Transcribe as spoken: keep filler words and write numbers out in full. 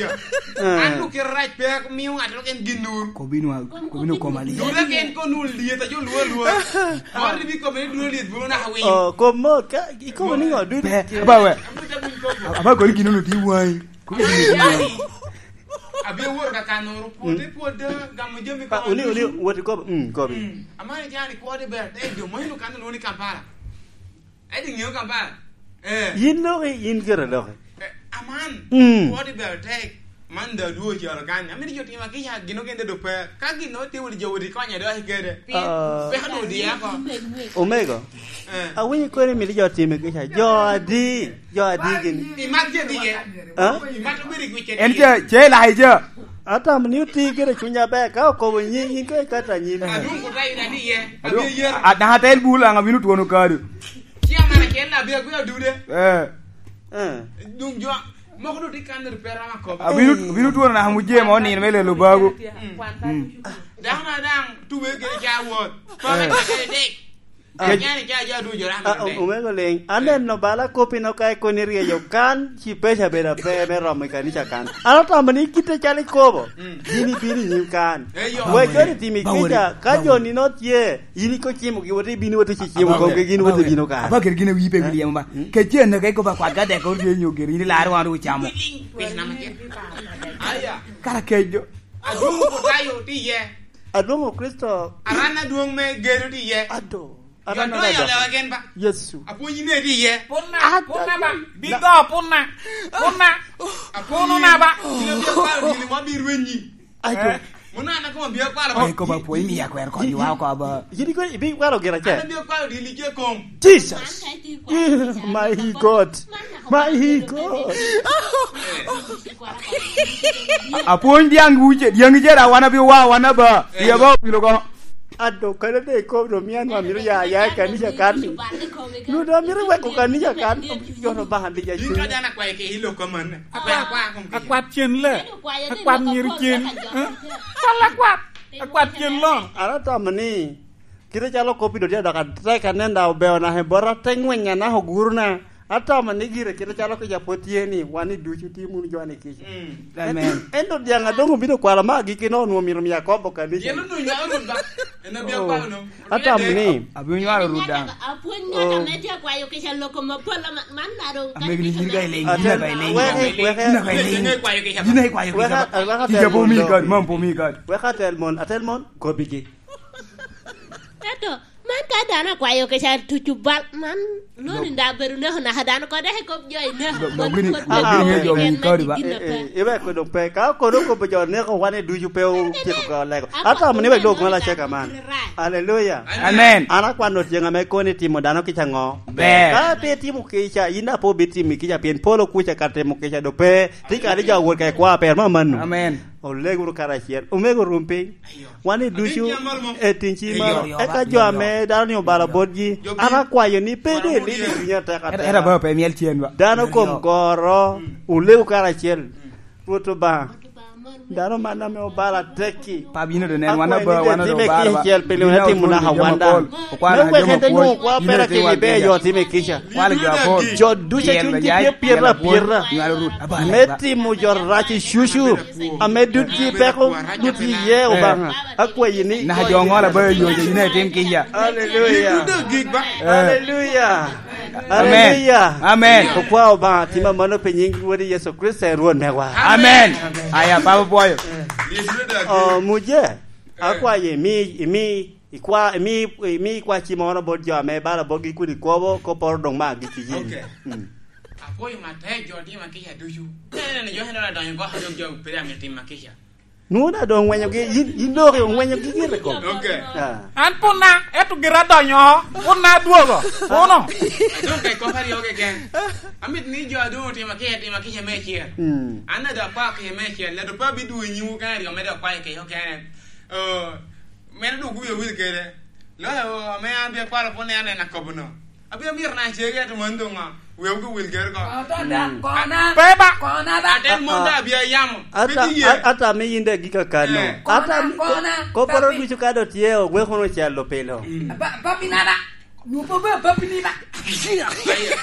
Eh. An okito rac pe amio ŋat dok en gin nur. Kobinwa, kobinwa koma liel. Dura ken ko nur liet, ajo lwa lwa. Moro ni bi kome ni dura liet, bulu naka winyo. Oh, kom mot, ka ikobo ni ŋo, dudi? Pe, aba we. Amito winy kobo. Aba koni gin ono di wai. Kobinwa di wai. Abino woro ka kanoro, pwote pwod, gamo jami. Pa, uni, uni, wot ikobo, mm, kobi. Mm. Amani jani kwo de ber, eh, jo mo ino kan lwongo ni Kampala. Ento iŋeo Kampala? Eh. Yin loki, yin kere loki. Eh, aman, mm, kwo de ber tek. Man da duo calo kan. Amito jo tima kica gino gen de dope. Ka gino te wuli jo wudi konye do akikede. Ah. Peka do diya ko. Omego. Eh. Awinyo koni mito jo time kica. Jo adi. Jo adi gini. Imat je diye. Ha? Imat obedi gwice. En diye. Ce, ce Elaija. Atamo ni oti kede cuny aber, ka okobo nyiŋ, in koŋ ikato anyim. Adwoŋ kuta ina diye. Adwoŋ, abye yer. A-, daŋ atel bul aŋ abino twono kado. Ci amana kel na bye gwe odude. Eh. Eh. Duŋ jo, moko doŋ tye kan ri pe ram akobo. Abino, abino twono naka mujee mo nino me lelo bago. Mm. Mm. Dano na daŋ tuwe kede ca wot. Kome kede dek. Ah. Ajani ca jo ducu ram Ah, kede. Omego Liŋ, aneno bala koppi no ka ikoni ryeyo kan, ci peca bedo ape me romo i kanica kan. An atamo ni kite calo ikobo, mm, gin ibino i nyim kan. Eh, yo. Wek jo ni timi kica, ka jo ni no tye, in iko cimo gi wote, ibino wote ci cimo komgi, gin wote bino kan. Aba ger gin awi pe Eh? William ba. Mm. Ke cen na ka ikoba kwat ka dek ko ryeyo nyo ger, in ilaro wan ocamo. Piny nama ger. Aya. Kara kejo. Adwoŋ Oputayo tye iye. Adwoŋ Okricito. Aran adwoŋ me gedo tye iye. Ado. Aran Yodo adada. Yolewa gen ba. Yecu. Apwony ne tye iye. Puna, Ado. Puna ba. Bigo, puna. Puna. Apwony Puna na ba. Gin abiro kwalo dini mo biro rwenyi. Ado. Eh. Muna na kuma biro kwalo ba. Ai, ko ba pwony mi akwero konyo wa ko ba. Yidi ko ibi kwalo gira che. Ana biro kwalo dini che kom. Jesus. My God. My God. Apwony dyaŋ wuce, dyaŋ icera wan abio wa, wan aba. Iya ba obilo ko. Ado, kare de ko do mian wa miro ya, ya i kanisa kan ni. Lu do miro weko kanisa kan, yono ba handi ya. Yin ka dana kwayo ke ilo ko man. Akwa, akwa, akwa, kom ke. Akwat cen le. Akwat nyiri cen. Eh? Kal akwat. Akwat cen lon. Ara tamo ni. Kite calo kop i dotya dok atek anen da obeo naka i bota, te ŋwenya naka oguruna. Atamo ni gire kite calo kica pwod tye ni, wan i ducu tye munu jo ni kica. Mm. Amen. En, en dodiaŋ adoŋ obino kwalo ma agikki no onwoŋo myero mi akobo kanisa. Yen onwoŋo nywalo Rwot ba? En abia Oh. Kwalo no. Atamo ni. Abino nywalo Rwot daŋ. Apwony ŋat Oh. Ame tye akwayo kica loko mapol ama-, man na doŋ Amego ni yin ka ileny, yin ka ileny. Wek, wek, Yin ka ileny. Yin ka ikwayo kica. Wek, wek, Kica po mi kadi, mam po mi kadi. Wek atel mon, atel mon, kobigi. Ento, man ka dano akwayo kica tucu bal, man lwoni da bedo neko naka dano kode i kop jo i neko. Lo-, lo-, gini, lo-, gini jo mi kodi ba? Eh, eh, iwek kodo pe, ka kodo kobo jo neko wan i ducu pe otyeko ka lego. Atamo ni wek dok ŋola ceka man. Aleluya. Amen. An akwano tyeŋ ame koni timo dano kica ŋo? Ber. Ka pe timo kica, yin da pe obitimo kica, pien polo kuca ka timo kica do pe. Ti kadi jo awot ka i kwa per ma mano. Amen. Oleg wunu karacel. Omego rum piny. Wan i ducu e tin ci malo. Eka jo ame dano ni obalo botgi. An akwayo ni pe de lidi i cunya tek atek. Era ba pe miel cien ba. Dano kom goro, olego karacel. Rwot Obaŋa. Dano man ame obalo atekki. Pa bino de nen, wan aba, wan aba. Time kica cel piny wek atim naka wanda. Me wek en te nwoŋo kwa pera kemi be jo time kica. Kwalo jo apol. Jo ducu a cunygi tye pyeta apyeta me timo jo rac i cucu, ame dutgi peko dut iye Obaŋa. Akwayi ni naka jo ŋolo aba yoyo, yin itim kica. Aleluya. Aleluya. Amen. Aleluya. Amen. Okwa Obaŋa, tima mano pi nyiŋ Wodi Yecu Kricito, en Rwot mewa. Amen. Aya, Papa pwoyo. Oh, muje, akwayo imi, imi, ikwa, imi, imi ikwa cimoro bot jo ame bala botgi kun ikobo, kopporo doŋ ma gik i yin. Okay. Mm. Apwoyo matek jo timo kica ducu. Nene jo heno adonyo oko, dok jo pire ame timo kica. Nwoŋo daŋ doŋ ŋwenyogi, yin, yin dok ŋwenyogi gire kop. Okay. Ah. An pwod na, ento gira adonyo oko, pwod na adwogo, puno. Adwoŋ ka i kop aryo keken. Amit ni jo adwoŋ otimo kica, timo kica me acel. Mm. An adwoŋ akwao kica me acel, ledo pe abidwogo i nyimwu kene aryo, me dok kwayo kica okene. Oh, meno dwogo kuyo wil kede. Loyo ame an bia kwalo pwod ni aneno akobo no. Abino mito na cege, ento man doŋ ŋo? Weu gi wil ger ko. Kona, Mm. Kona, Pe ba. Kona ba. Atel mon da bia yamo. Ata, Pidi ye. A-, ata mi yin de gika kano. Eh. Ata Kona, mi ko-, Kona, koporo Papi. Ducu ka do tye, ogwe kono calo pilo. Mm. Ba, Papi na ba. Nwopo ba, Papi ni ba. Aye.